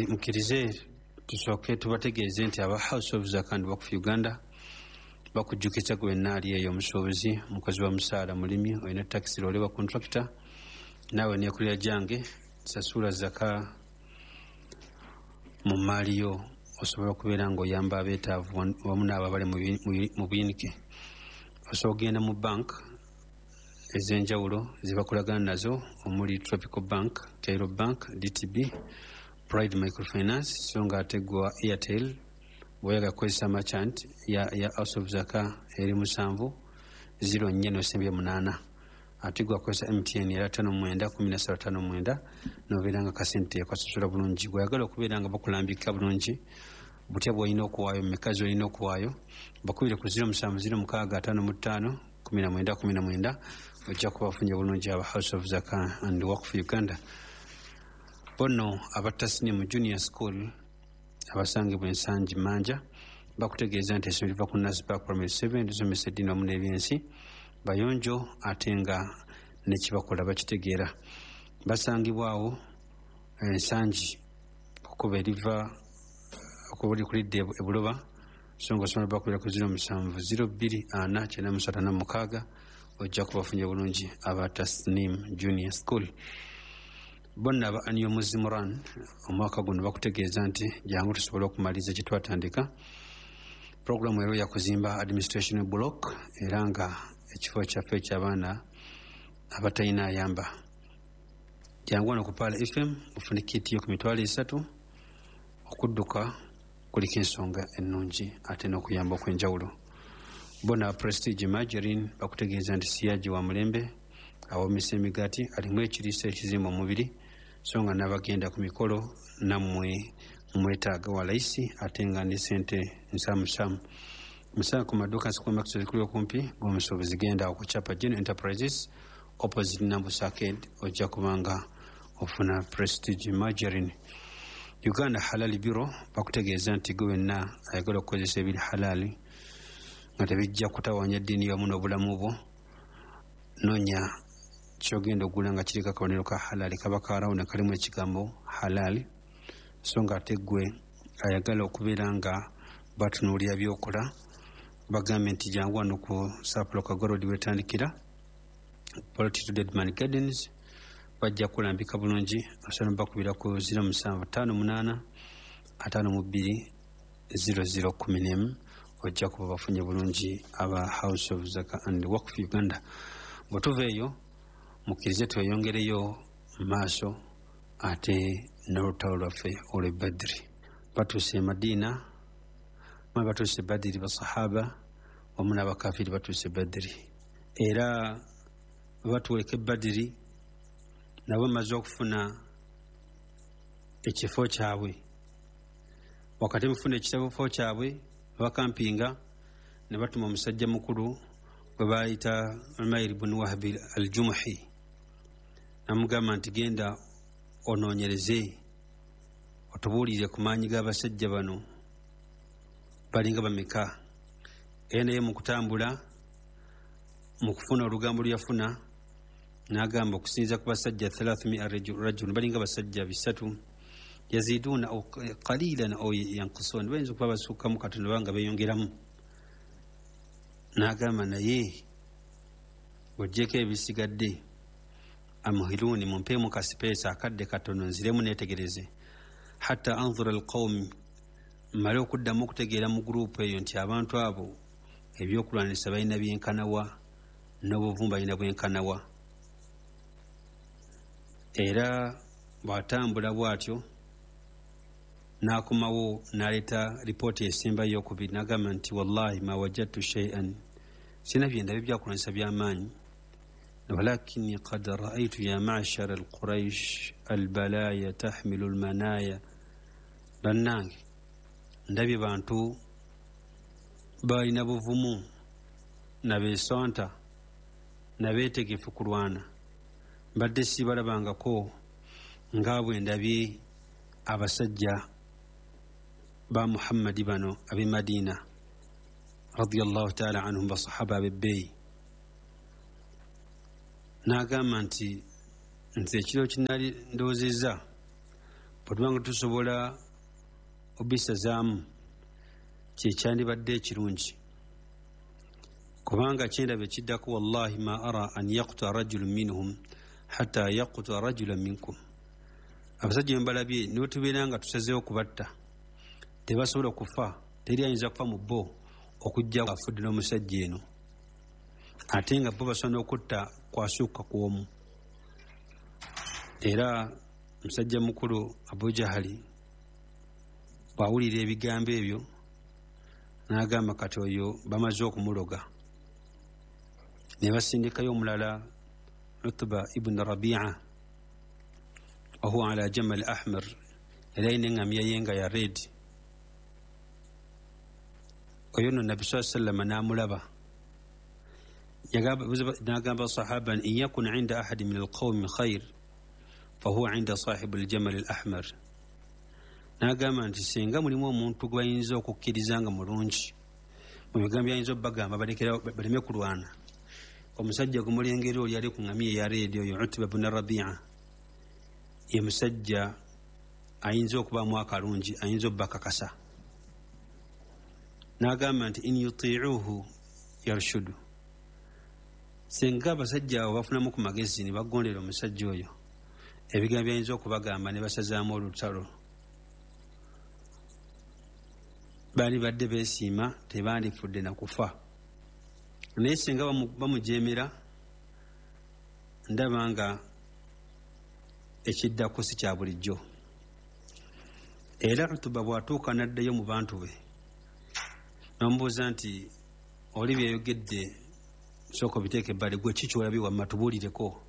Mukkirize tusooke tubategeeze nti aba House of Zaka and Waqf Uganda bakujjukiza gwe wenna ali eyo, omusuubuzi, omukozi wa musaala, mulimi, olina takisi, loole wa contractor, naawe neekulira gyange, sasula zaka mu maali yo osobola okubeera ng'oyamba abeetaavu wamu n'abo abali mu buyinike. Osobola okugenda mu bank ez'enjawulo zebakolagana nazo omuli Tropical Bank, Cairo Bank, DTB, Pride Microfinance. So nga ate gwa Airtel bw'oyagala kukozesa merchant ya House of Zaka eri 7 04 nosembye 8. Ate gwakozesa MTN era 59 13 59, nobeera nga kasente kasasula bulungi. Bweyagala okubeera nga bakulambika bulungi butya bwolina okuwaayo, mumeka zolina okuwaayo, bakubire ku 0706551919, ojja kuba bafunye bulungi aba House of Zaka and Waqf Uganda. Bono aba Tasnimu Junior School abasangibwa Ensangi Manja bakutegeeza nti essomero liva ku Nasbak Primary 7, lisomesa eddiini wamu n'ebyensi, bayonjo ate nga nekibakola bakitegeera. Basangibwawo Ensangi okuba eriva kulidde ebuloba, so nga osobola bakubira ku 0702 493 46, ojja kubafunye bulungi aba Tasnim Junior School. Bonna aba Annual Muslim Run omwaka guno bakutegeeza nti jangu tusobole okumaliriza kyetwatandika. Puroguramu era yakuzimba administration block era nga ekifo kyaffe ekyabaana abatalina ayamba. Jangu wano ku Pearl FM ofune kit yo ku 30,000. Okudduka kuliko ensonga ennungi ate n'okuyamba okw'enjawulo. Bona Prestige Margarine bakutegeeza nti siyagi wa mulembe, awomesa emigaati, alimu ekiriisa ekizimba omubiri, so nga n'abagenda ku mikolo nammwe mwetaaga wa layisi ate nga ne sente nsaamusaamu. Musanga ku maduuka supermarket ezikuli okumpi g'omusuubuzi. Genda awo ku Chapa General Enterprises, opposite Nambusa Arcade, ojja kubanga ofuna Prestige Margarine. Uganda Halal Bureau bakutegeeza nti gwe wenna ayagala okukozesa ebiri halali nga tebijja kutawanya eddiini yamu n'obulamu bwo, noonya kyogenda ogula nga kiriko akabonero ka halali, kaba karawuni kalimu ekigambo halali. So nga ate gwe ayagala okubeera nga batunuulira byokola, bagambye nti jangu wano ku Sapolo Kagorodi wetandikira Polity to Deadman Gardens, bajja kulambika bulungi. Osobola bakubira ku 0758 52 0011, ojja kuba bafunye bulungi aba House of Zaka and Waqf Uganda. Bwe tuva eyo, mukkirize tweyongereyo mu maaso ate n'olutalo lwaffe olw'e Badiri. Batuuse e Madiina, mwe batuuse e Badiri, basahaba wamu n'abakafiri batuuse e Badiri. Era batuweka e Badiri nabo bamaze okufuna ekifo kyabwe. Wakati mufuna ekifo kyabwe, bakampinga ne batuma omusajja mukulu gwe bayita Umair bun Wahbi Aljumuhi, namugamba nti genda onoonyereze otubuulire ku maanyi g'abasajja bano, balinga bameka. Era naye mu kutambula, mu kufuna olugambo lwe yafuna, n'agamba okusinziira ku basajja 300 rajul, balinga basajja 300, yaziduuna au qalilan au yankusun, bayinza okuba basukkamu katono banga beyongeramu. N'agamba naye ojjeko ebisigadde, amuhiruuni, mumpeemu kasipeesa akadde katono nziremu netegereze, hatta anzura alqaumi, mmale okuddamu okutegeera mu gurupu eyo nti abantu abo ebyokulwanisa balina byenkanawa n'obuvumu balina bwenkanawa. Era bw'atambula bw'atyo n'akomawo n'aleeta ripooti esembayo eyokubiri, n'agamba nti wallahi ma wajadtu shay'an, sina byendabye byakulwanyisa by'amaanyi, walakini qad raaitu ya mashara alquraish albalaya tahmilu almanaya. Bannange, ndabye bantu balina buvumu nabeesonta nabeetegefu kulwana, mbadde sibalabangako nga bwe ndabye abasajja ba Muhammadi bano ab'e Madiina radiallahu taala anhum, basahaba ab'ebbeeyi. N'agamba nti Nze ekiro kinali ndowoozezza bwe tuba nga tusobola obisazaamu kyekyandibadde ekirungi, kubanga kyendaba ekiddako, wallahi ma ara an yaktuta rajulu minhum hatta yaktuta rajula minkum. Abasajja bembalabye niwe tubeera nga tusazeewo kubatta, tebasobola kufa, teri ayinza kufa mu bo okujja afudde n'omusajja eno, ate nga bo basobola n'okutta kwasukka ku omu. Era musajja mukulu Abu Jahali bw'awulira ebigambo ebyo n'agamba kati oyo bamaze okumuloga. Ne basindikayo omulala Utba ibn Rabia, wahuwa ala jamal ahmar, yali alina eŋŋamiya ye nga ya red. Oyo nno Nabbi saa sallama n'amulaba, n'agamba sahaba in yakun inda ahadi min alqawmi khair fahuwa inda sahibu aljamal al ahmar. N'agamba nti singa mulimu omuntu gwe bayinza okukkiriza nga mulungi mu bigambo byayinza obbagamba baleme kulwana, omusajja gumulengera oli ali ku ŋŋamiya eya red oyo Utba bun Rabia ye musajja ayinza okubaamu akalungi, ayinza obbakakasa. N'agamba nti in yutiicuuhu yarshudu, singa abasajja abo bafunamu ku magezi ne bagondera omusajja oyo ebigambo byayinza okubagamba ne basazaamu olutalo, baalibadde beesiima tebandifudde na kufa. Naye singa bamujeemera ndaba nga ekiddako si kya bulijjo. Era Utuba bw'atuuka n'addayo mu bantu be n'amubuuza nti oli byeyogedde sooka obiteeka ebbali, gwe ki ky'olabye wamma tubuulireko.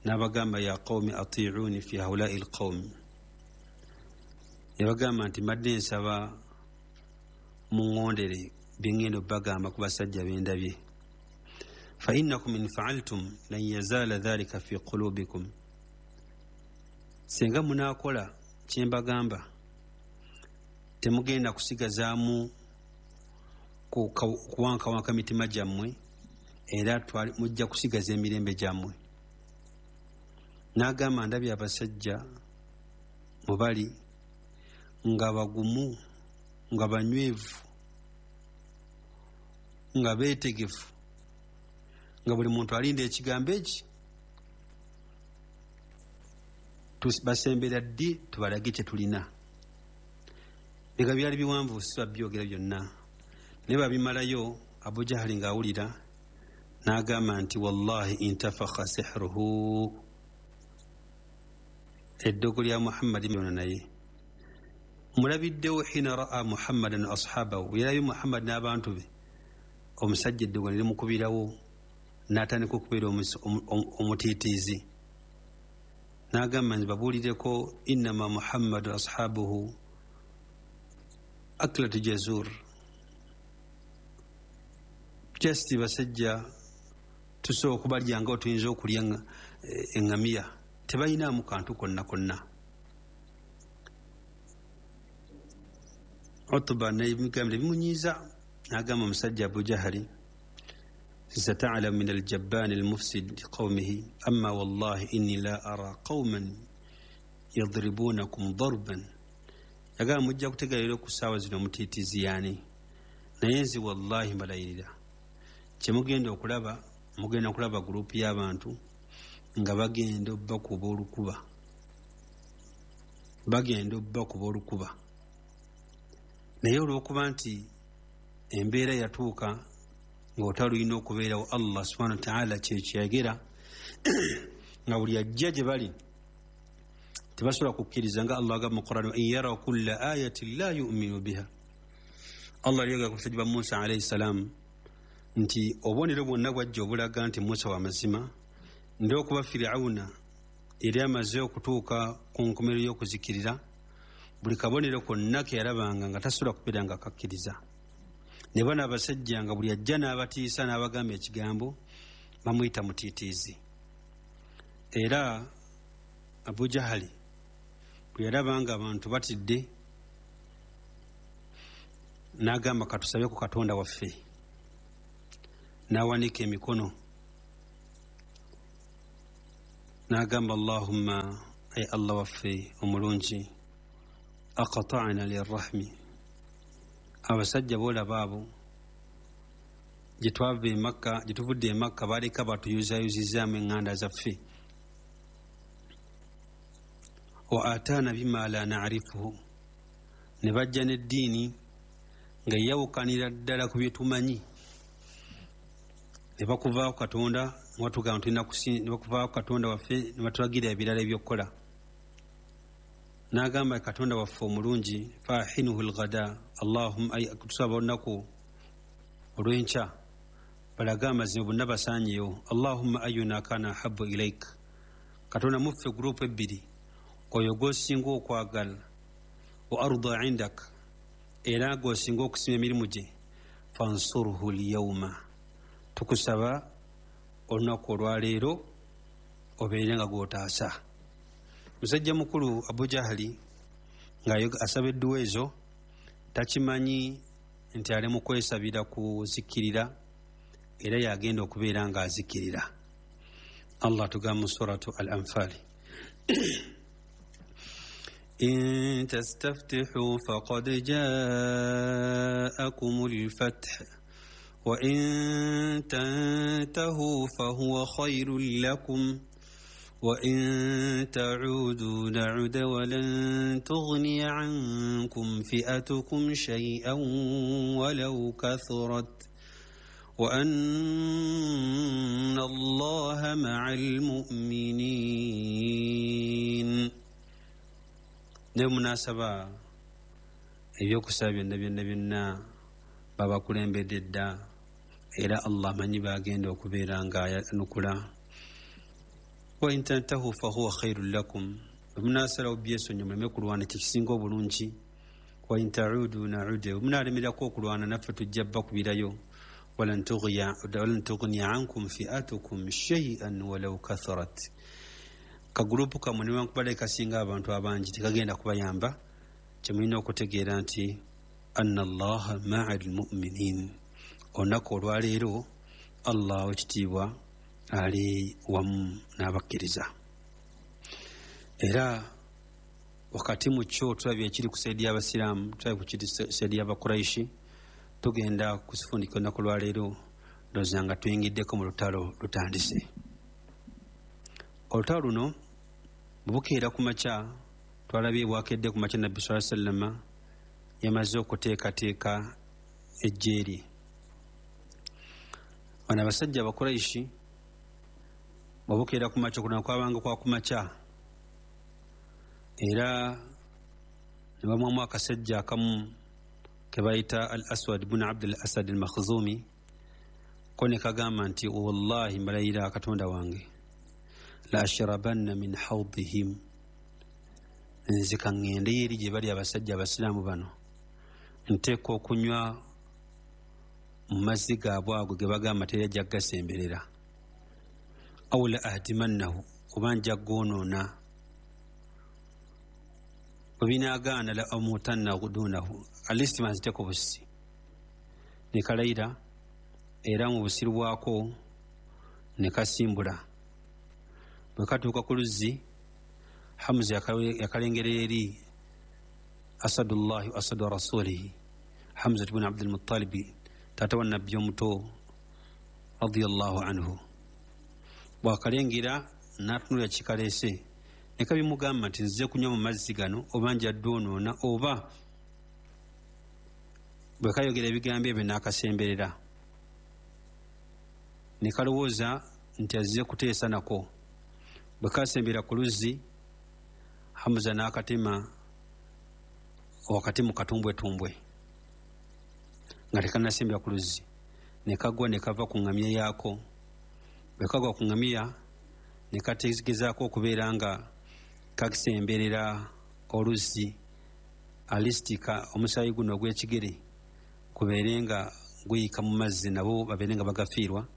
N'abagamba ya qawmi atiicuuni fi haulai lqawmi, yabagamba nti mbadde nsaba muŋŋondere bye ŋŋenda obbagamba ku basajja bendabye. Fa innakum in faaltum lan yazaala dhalika fi qulubikum, singa munaakola kye mbagamba temugenda kusigazaamu kuwankawanka mitima gyammwe, era mujja kusigaza emirembe gyammwe. N'agamba ndabye abasajja mubali nga bagumu, nga banywevu, nga beetegefu, nga buli muntu alinda ekigambo eki basembera ddi tubalage kye tulina. Biga byali biwanvu si babyogera byonna, naye babimalayo. Abu Jahali ng'awulira n'agamba nti wallahi intafakha sihruhu, eddogo lya Muhammadi yona naye mulabiddewo. Hina raa Muhammadan ashabahu, yalabye Muhammadi n'abantu be, omusajja eddogo ne limukubirawo n'atandika okubeera omutiitiizi. N'agamba nti babuulireko innama Muhammadu ashabuhu aklatu jazur, just basajja tusobola okubalya nga tuyinza okulya eŋŋamiya, tebalinaamu kantu konna konna. Utuba n'ebigambo ne bimunyiiza, n'agamba omusajja Abu Jahali satalamu min aljabbaani almufsid liqawmihi amma wallahi inni la ara qawman yadribunakum darban. Yagamba mujja kutegeera ku ssaawa zino omutiitiizi yaani, naye nze wallahi mbalayirira kyemugenda okulaba, mugenda kulaba gurupu y'abantu nga bagenda obbakuba olukuba, bagenda obbakuba olukuba. Naye olw'okuba nti embeera yatuuka ng'otalulina okubeerawo, Allah subhanahu wataala kyekyayogera nga buli ajja gye bali tebasobola kukkiriza, nga Allah agamba mu Quran in yaraw kulla ayatin la yuminu biha. Allah yayogera ku basajja ba Musa alaihi salam nti obubonero bwonna bwajja obulaga nti Musa wa mazima, ndi okuba Firawuna yali amaze okutuuka ku nkomerero y'okuzikirira, buli kabonero konna ke yalabanga nga tasobola kubeera nga akakkiriza. Ne bano abasajja nga buli ajja n'abatiisa n'abagamba ekigambo bamuyita mutiitiizi. Era Abu Jahali bwe yalaba nga abantu batidde n'agamba katusabe ku Katonda waffe, n'awanika emikono N'agamba, Allahumma, ay Allah waffe omulungi, aqata'na lirrahmi, abasajja boolaba abo gye twava e Makka, gye tuvudde e Makka, baleka batuyuzayuzizaamu eŋŋanda zaffe. Wa ataana bima la na'rifuhu, ne bajja n'eddiini nga yawukanira ddala ku bye tumanyi. Ne bakuvaako Katonda, watugamba tulina ne bakuvaako Katonda waffe, ne batulagira ebirala ebyokukola. N'agamba Katonda waffe omulungi, fahinuhu lghada, Allahumma, ay tusaba olunaku olw'enkya balage amazima bonna basaanyeyo. Allahumma ayuna kana ahabu ilaik, Katonda muffe gurupu ebbiri, oyo gw'osinga okwagala, wa arda indak, era gw'osinga okusima emirimu gye, fansurhu lyauma, tukusaba olunaku olwaleero obeere nga gw'otaasa. Musajja mukulu Abu Jahali nga asaba edduwa ezo takimanyi nti ali mu kwesabira kuzikirira, era yagenda okubeera nga azikirira. Allah tugamba mu suratu Al-Anfal, in tastaftihu faqad jaakum al-fath wa in tantahu fahuwa khayrun lakum wa in ta'udu na'ud wa lan tughni 'ankum fi'atukum shay'an walau kathurat wa anna Allaha ma'al mu'minin. Ne munasaba ebyokusaba byonna byonna byonna babakulembedde dda, era Allah amanyi bagenda okubeera nga ayanukula. Wa in tantahu fahuwa khairun lakum, bwe munaasalawo byesonyi muleme kulwana kyekisinga obulungi. Wa in ta'udu na'ud, bwe munaalemerako okulwana naffe tujja bakubirayo. Walan tughniya ankum fi'atukum shay'an walau katharat, kagurupu kammwe newankubadde kasinga abantu abangi tekagenda kubayamba. Kyemulina okutegeera nti anna Allaha ma'a al-mu'minin, olunaku olwaleero Allah w'ekitiibwa ali wamu n'abakkiriza. Era wakati mu kyo tulabye ekiri ku saidi y'abasiraamu, tulabye ku kiri saidi y'abakuraishi. Tugenda kusifundika olunaku lwaleero, ndowooza nga tuyingiddeko mu lutalo lutandise. Olutalo luno bwe bukeera ku makya, twalabye bwakedde ku makya, Nabbi saa sallama yamaze okuteekateeka ejje lye. Bano abasajja abakuraishi bwebukeera ku makya, okulwana kwabanga kwa ku makya, era ne bamwamu akasajja akamu ke bayita Al Aswad bunu Abdul Asad al Makhzumi, ko ne kagamba nti wallahi mbalayira Katonda wange, la ashrabanna min hawdihim, nze kaŋŋendeyo eri gye bali abasajja abasiraamu bano, nteeka okunywa mu mazzi gaabwe ago ge bagamba teri ajja kugasemberera, aw la ahdimannahu, oba nja goonoona, bwe binaagaana la amutanna dunahu, at least banziteko busi. Ne kalayira, era mu busiru bwako ne kasimbula. Bwe katuuka ku luzzi, Hamuza yakalengera eri, asadullahi wa asadu rasulihi, Hamzat bun Abdulmutalibi, taata wa Nabbi omuto radiallahu anhu. Bwakalengera n'atunulira kikaleese, ne kabimugamba nti nzize kunywa mu mazzi gano oba njadde onoona oba. Bwe kayogera ebigambo ebyo n'akasemberera, ne kalowooza nti azze kuteesa nako. Bwe kasembera ku luzzi, Hamuza n'akatema wakati mu katumbwetumbwe nga tekanasembera ku luzzi, ne kagwa ne kava ku ŋŋamya yaako. Bwe kagwa ku ŋŋamiya ne kategezaako okubeera nga kasemberera oluzzi, at least omusaayi guno ogw'ekigere kubeere nga guyika mu mazzi nabo babeere nga bagafiirwa.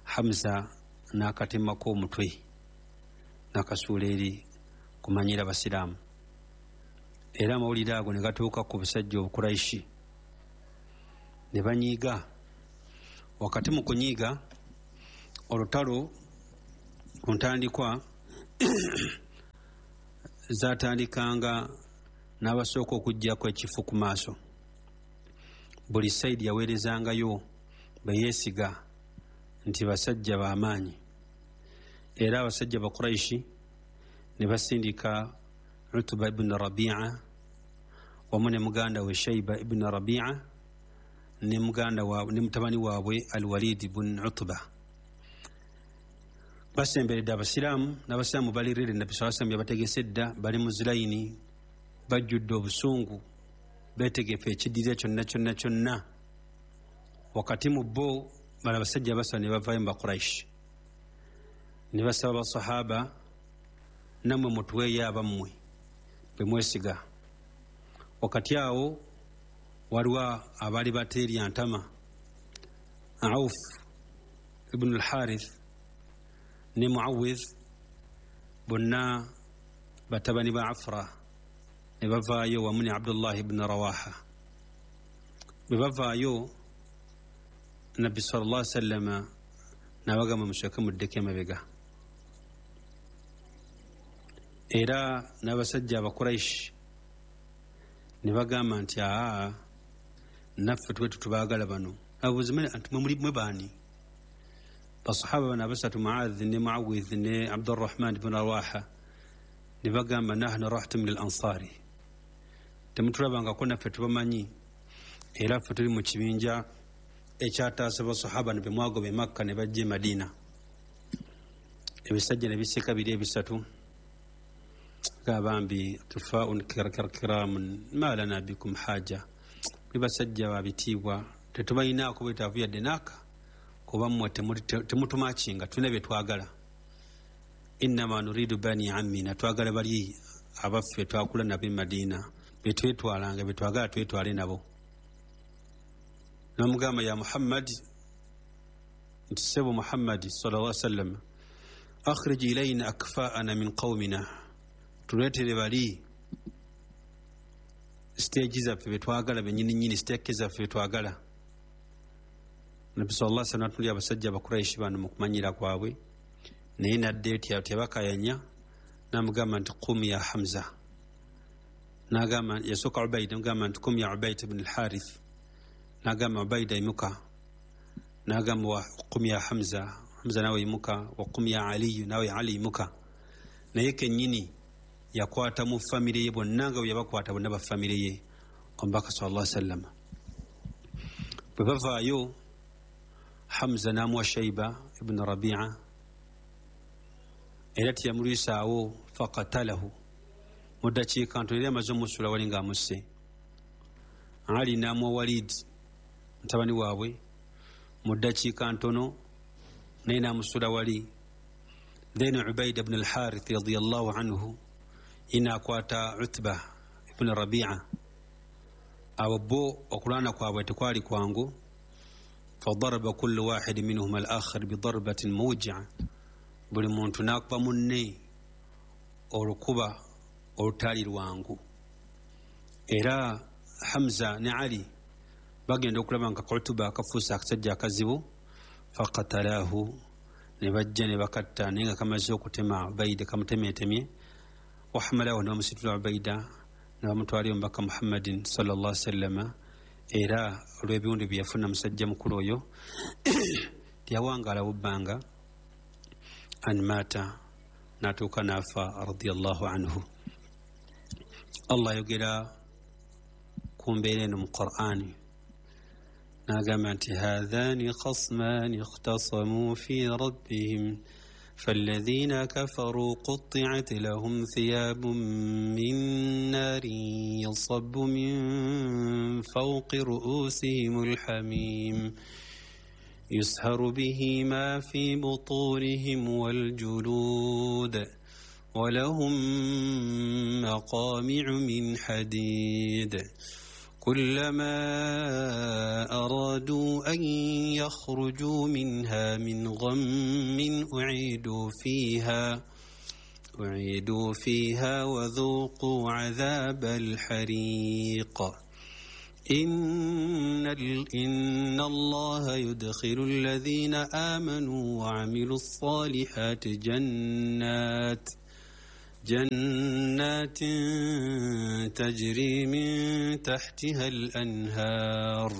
Hamuza n'akatemako omutwe n'akasuula eri kumanyira abasiraamu. Era amawulire ago ne gatuuka ku busajja obukuraishi ne banyiiga. Wakati mu kunyiiga, olutalo ku ntandikwa Zatandikanga n'abasooka okuggyako ekifu ku maaso. Buli sayidi yaweerezangayo beyeesiga nti basajja b'amaanyi. Era abasajja ba Quraishi ne basindika Utuba ibn Rabia wamu ne muganda we Shaiba ibn Rabia ne muganda wa ne mutabani waabwe Alwalid ibn Utuba. Basemberedde abasiraamu, n'abasiraamu bali rere. Nabbi saa sallam yabategese dda, bali mu zilayini, bajjudde obusungu, beetegefu ekiddirira kyonna kyonna kyonna. Wakati mu bo bala abasajja basaba ne bavaayo mu Bakuraishi ne basaba basahaba, nammwe mutuweeyo abammwe bwe mwesiga. Wakati awo waliwo abaali bateerya ntama, Auf ibn al-Harith ne Muawidh, bonna batabani ba Afra, ne bavaayo wamu ne Abdullah ibn Rawaha. Bwe bavaayo, Nabbi sallallahu alaihi wasallama n'abagamba, musooke muddeko emabega. Era n'abasajja Abakuraishi ne bagamba nti aa, naffe tube tutubaagala bano. Abuuza nti mwe muli mwe baani? Basahaba bano abasatu, Muadh ne Muawidh ne Abdurrahman ibn Rawaha, ne bagamba, nahnu rahtu min al ansari, temutulabangako, naffe tubamanyi, era ffe tuli mu kibinja ekyataasa basahaba ne bemwagoba e Makka ne bajja e Madiina. Ebisajja ne biseka biri ebisatu, gabambi kifaun kiramun ma lana bikum haja, muli basajja babitiibwa, tetubalinaako bwetaavu yadde naaka, kuba mmwe temutumakinga, tulina bye twagala. Innama nuridu bani ammina, twagala bali abaffe twakula nabo e Madiina, betwetwalanga, betwagala twetwale nabo. Namugamba, ya Muhammadi, nti sebo Muhammadi sallallahu alaihi wasallam, akhrij ilaina akfaana min qaumina, tuleetere bali siteegi zaffe betwagala benyini nyini, siteeke zaffe betwagala. Nabbi sallallahu alaihi wasallam atuli abasajja Abakuraishi bano mu kumanyira kwabwe, naye nadde etya tebakayanya, namugamba nti qum ya Hamza. Nagamba, yasooka Ubaida, namugamba nti qum ya Ubaida ibn al-Harith. Nagamba, Ubaida imuka. Nagamba, wa qum ya Hamza, Hamza nawe imuka. Wa qum ya Aliyu, nawe Ali imuka. Naye kennyini yakwata mu famire ye bonna nga bwe yabakwata bonna ba famire ye omubaka sallallahu alaihi wasallam. Bwe bavaayo, Hamza n'amuwa Shaiba ibn Rabia, era teyamulwisaawo, faqatalahu mu ddakiika ntono yali amaze omusula wali ng'amusse. Ali n'amuwa Walid mutabani waabwe, mu ddakiika ntono naye n'amusula wali. Then Ubaida ibn al-Harith radiyallahu anhu inaakwata Utba ibn Rabia. Abo bo okulwana kwabwe tekwali kwangu. Fadaraba kullu wahidi minhuma al-akhar bidarbatin mawjia, buli muntu n'akuba munne olukuba olutali lwangu. Era Hamza ne Ali bagenda okulaba nga Utuba akafuuse akasajja akazibu, faqatalahu, ne bajja ne bakatta, naye nga kamaze okutema Ubaida, kamutemeetemye. Wahamalahu, ne bamusitula Ubaida ne bamutwalayo omubaka Muhammadin sallallahu alaihi wasallama. Era olw'ebiwundu bye yafuna musajja mukulu oyo teyawangaala bubbanga, an maata, n'atuuka n'afa radiyallahu anhu. Allah ayogera ku mbeera eno mu Qur'ani, n'agamba nti haadhani khasmani ikhtasamu fi rabbihim فالذين كفروا قطعت لهم ثياب من نار يصب من فوق رؤوسهم الحميم يسهر به ما في بطونهم والجلود ولهم مقامع من حديد كلما أرادوا أن يخرجوا منها من غم أعيدوا فيها وذوقوا عذاب الحريق إن الله يدخل الذين آمنوا وعملوا الصالحات جنات تجري من تحتها الأنهار.